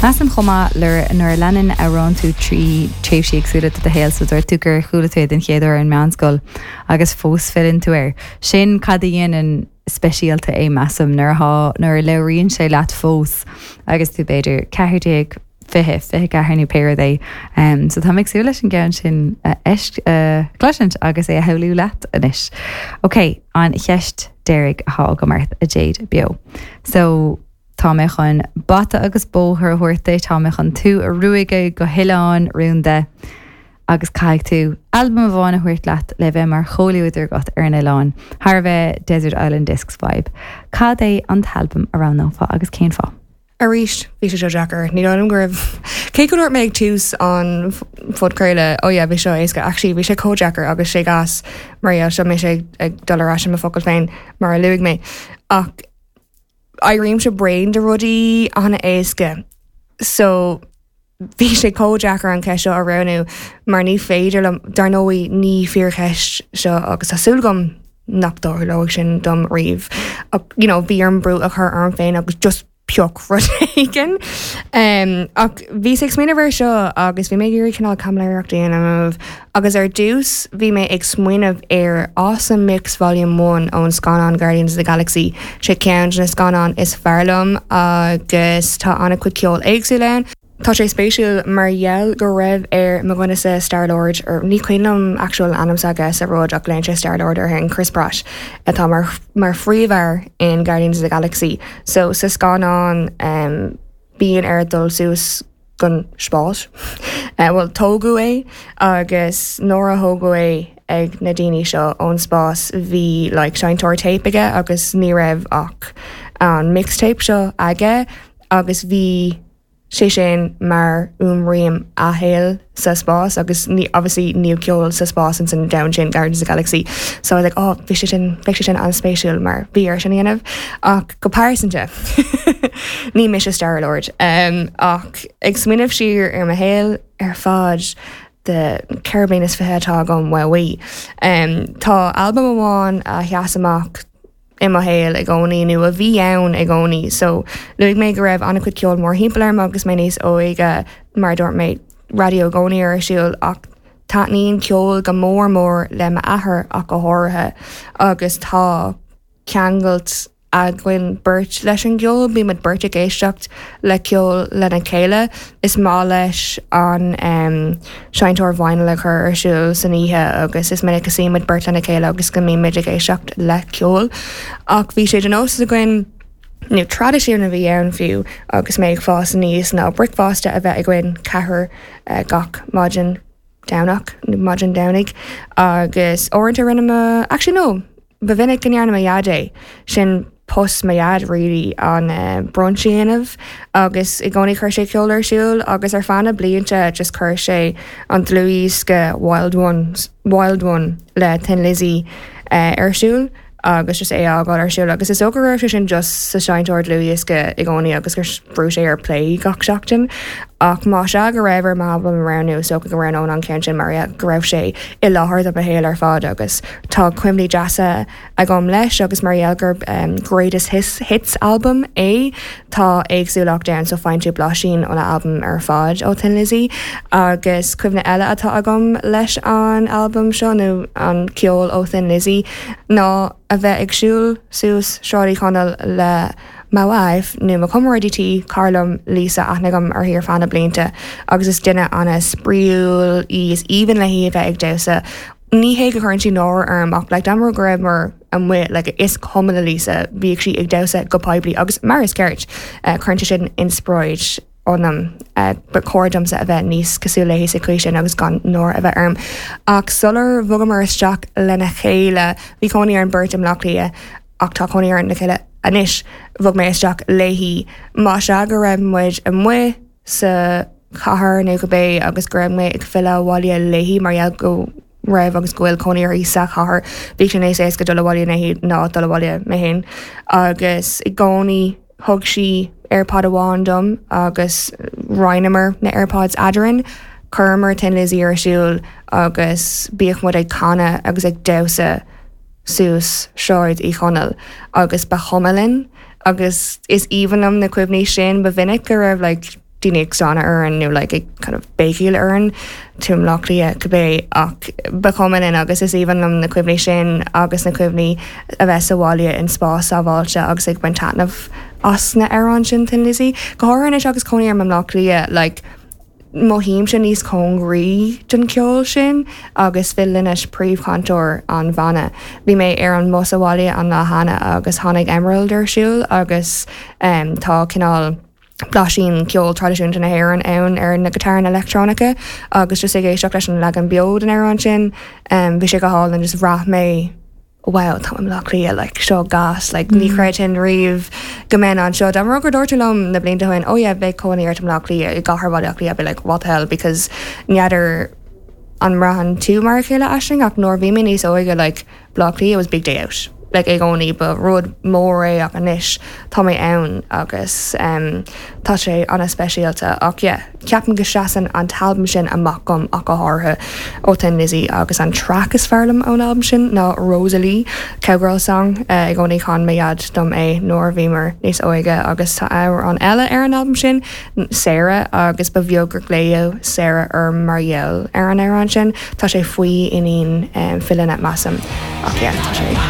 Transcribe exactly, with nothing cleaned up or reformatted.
Measaim chomh maith le nuair a leanann amhrán tú trí tréimhsí éagsúla de do shaol so dúirt tú gur chuala tú den chéad uair in meánscoil agus fós filleann tú air. Sin cad a dhéanann speisialta é measaim nuair atá nuair a labhraíonn sé leat fós agus tú b'fhéidir ceathair fiche fiche ceathair nó pé rud é. Um, so tá ag súil leis an gceann sin uh, chloisint agus é a shamhlú leat anois. Ok, an cheist deiridh atá agam ort a Jade beo. So tá mé chun bata agus bóthar a thabhairt duit tá mé chun tú a ruaigeadh go hoileán rúnda agus caithfidh tú albam amháin a thabhairt leat le bheith mar chomhluadar agat ar an oileán, thar bheith Desert Island Discs vibe. Cad é an t-albam a roghnófá agus cén fáth? Arís bhí sé seo deacair, ní dóigh liom go raibh cé go ndúirt mé ag tús an phodchraoladh ó yeah, bhí seo éasca actually bhí sé chomh deacair agus sé gas mar seo mé sé ag dul ar ais mo focal féin mar a luaigh mé ach éirímse bréan de rudaí an-éasca. So bhí sé chomh deacair an cheist seo a roghnú mar ní féidir liom dar ndóigh ní fíorcheist seo agus tá súil agam nach dtarlóidh sin dom riamh. Ach you know, bhí orm brú a chur orm féin agus just pioc rud éigin. Um, ach bhí ag smaoineamh air seo agus bhí mé ag iarraidh cineál caimiléireacht a dhéanamh agus ar dtús bhí mé ag smaoineamh ar Awesome Mix Volume One ón scannán Guardians of the Galaxy sé ceann de na scannáin is fearr liom agus tá an-chuid ceol éagsúil ann. Tá sé spéisiúil mar gheall go raibh ar mo dhuine-sa Star-Lord or ní cuimhin liom actual ainm s'aige sa rud ach glaonn sé Star-Lord ar an Chris Pratt atá mar mar phríomhfhear in Guardians of the Galaxy. So sa scannán um, bíonn air dul suas gon spás. Uh, well tógadh é agus nuair a tógadh é ag na daoine seo ón spás bhí like, seinnteoir tape aige agus ní raibh ach an mixtape seo aige agus bhí sé sin mar umriam a shaol sa spás agus ní obviously níl ceol sa spás in san domhan sin Guardians of the Galaxy so I was like oh bhí sé sin bhí sé sin an-spéisiúil mar bhí air sin a dhéanamh ach go pearsanta ní mise Star-Lord um, ach ag smaoineamh siar ar mo shaol ar fad de ceithre bliana is fiche atá agam wowee. Um, tá albam amháin a sheas amach i mo shaol i gcónaí nó a bhí ann i gcónaí, so luaigh mé go raibh an-chuid ceol mórthimpeall orm agus mé níos óige mar dúirt mé raidió i gcónaí ar siúl ach taitníonn ceol go mór mór le m'athair ach go háirithe agus tá ceangailt againn beirt leis an gceol, bímid beirt ag éisteacht le ceol lena chéile. Is maith leis an um, seinnteoir vinyl a chur ar siúl san oíche agus is minic a suímid beirt lena chéile agus go mbímid ag éisteacht le ceol. Ach bhí sé de nós againn nó traidisiún a bhí ann fiú agus mé ag fás aníos ná bricfeasta a bheith againn ceathair uh, gach maidin Domhnach maidin Domhnaigh agus uaireanta rinne mo actually no ba mhinic go ndearna mo dhaid é sin post mo dhaid really an uh, brunch dhéanamh agus i gcónaí chuir sé ceol ar siúl agus ar feadh na blianta just chuir sé an dlúthdhiosca Wild Ones Wild One le Thin Lizzy uh, ar siúl agus just é fhágáil ar siúl agus is dócha go raibh sé sin just sa seinnteoir dlúthdhiosca i gcónaí agus gur bhrú sé ar play gach seachtain ach má sea go raibh ar m'albam a roghnú is dócha go roghnóinn an ceann sin mar go raibh sé i láthair do mo shaol ar fad agus tá cuimhní deasa agam leis agus mar gheall gur um, greatest hits, hits album é tá éagsúlacht ann so faigheann tú blaisín ó na albaim ar fad ó Thin Lizzy agus cuimhne eile atá agam leis an album seo nó an ceol ó Thin Lizzy ná a bheith ag siúl suas Sráid Uí Chonaill le mo wife nó mo chomrádaí tí cara liom Lisa aithne agam uirthi ar feadh na blianta agus is duine an-spraíúil í is aoibhinn léi a bheith ag damhsa. Ní hé go gcuireann sí náire orm ach like, dá mba go raibh mar amuigh like, is cuma le Lisa bhíodh sí ag damhsa go poiblí agus mar is ceart uh, cuireann sé sin inspioráid ionam uh, ba chóir domsa a bheith níos cosúil léi sa chaoi sin agus gan náire a bheith orm. Ach sular bhogamar isteach lena chéile bhí cónaí ar an beirt i mBleá Cliath ach tá cónaí ar na chéile anois bhog mé isteach léi má sea go raibh muid amuigh sa chathair nó cibé agus go raibh mé ag filleadh abhaile léi mar gheall go raibh agus go bhfuil cónaí uirthi sa chathair bhí sé níos éasca dul abhaile léi ná dul abhaile mé féin agus i gcónaí thug sí AirPod amháin dom agus roinneamar na AirPods eadrainn, chuireamar Thin Lizzy ar siúl agus bhíodh muid ag canadh agus ag damhsa suas Sráid Uí Chonaill agus ba chuma linn agus is aoibhinn liom na cuimhní sin ba mhinic go raibh like, daoine ag stánadh orainn nó like ag kind of béicíl orainn tú Bleá Cliath cibé ach ba chuma linn agus is aoibhinn liom na cuimhní sin agus na cuimhní a bheith sa bhaile in spás sábháilte agus ag baint taitneamh as na hamhráin sin Thin Lizzy. Go háirithe anois agus cónaí orm i mBleá Cliath like mothaím níos cóngaraí don ceol sin agus Phil Lynott príomhchantóir an bhanna. Bhí mé ar an mbus abhaile an lá cheana agus tháinig Emerald ar siúl agus um, tá cineál blaisín ceol traidisiúnta na hÉireann ann ar na giotáir leictreonacha agus just ag éisteacht leis an leagan beo den amhrán sin um, bhí sé go hálainn just bhraith mé wow tá Bleá Cliath like seo gas like ní mm. chreidfinn riamh go mbeinn anseo dá mba gur dúirt tú liom na blianta ó shin oh yeah beidh cónaí ort i mBleá Cliath i gcathair Bhaile Átha Cliath be like what the hell because n'fheadar an mbraitheann tú mar a chéile Aisling ach nuair bhí mé níos óige like Bleá Cliath was big day out. Like i gcónaí ba rud mór é ach anois tá mé ann agus um, tá sé an-speisialta ach yeah, ceapaim go seasann an t-albam sin amach dom ach go háirithe ó Thin Lizzy agus an track is fearr liom ón albam sin ná Rosalie Cowgirl song uh, i gcónaí chan mo dhaid dom é nuair bhíomar níos óige agus tá amhrán eile ar an albam sin Sarah agus ba bheag gur glaodh Sarah orm mar gheall ar an amhrán sin tá sé faoi iníon um, Phil Lynott measaim ach yeah, tá sé.